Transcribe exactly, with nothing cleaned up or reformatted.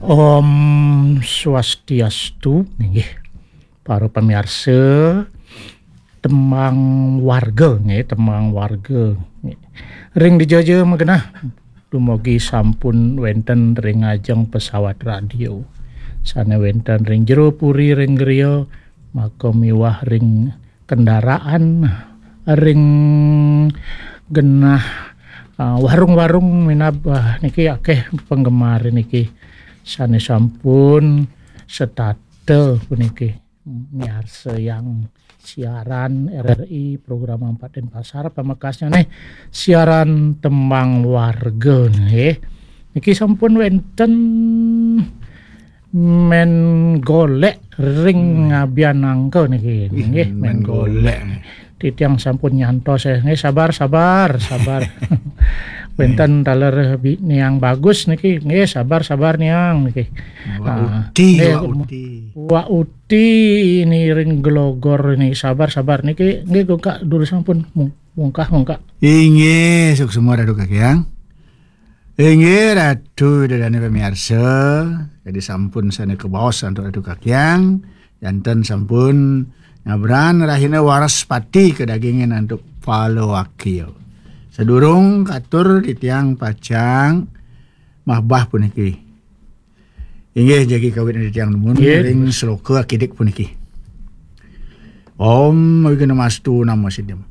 Om Swastiastu, nggih. Para pamiarsa, tembang warga, nggih, tembang warga. Nggih. Ring dija-dija magenah, dumugi sampun wenten ring ajeng pesawat radio. Sane wenten ring jero puri ring griya, maka miwah ring kendaraan, ring genah, ah, warung-warung minab, ah, niki akeh penggemar niki sane sampun setata puniki miarsayang siaran R R I program empat Denpasar, pamekasnya nih siaran tembang warga nih. Niki sampun wenten men golek ring ngabian angka niki. Nggih, men golek. Titiang sampun nyantos, eh. Nggih, sabar, sabar, sabar. Wenten taler bi-, niang bagus niki. Nggih, sabar, sabar niang niki. Wak Ah, Uti, nggih, Wak Uti. Wak Uti ini ring gelogor ini, sabar, sabar niki. Nggih, kok durus sampun mung-, mungkah, mungkah. Inggih, suksma Ratu Kakyang. Inggih, Ratu Ida Dane pamiarsa, jadi sampun sane kabaos antuk Ratu Kakyang, janten sampun ngabran rahina Waraspati kadagingin antuk Palawakya. Sadurung katur titiang pacang mahbah puniki. Inggih, jagi kawit titiang nuwun Nggih. Ring sloka akidik puniki. Om Wignamastu Namo Siddham.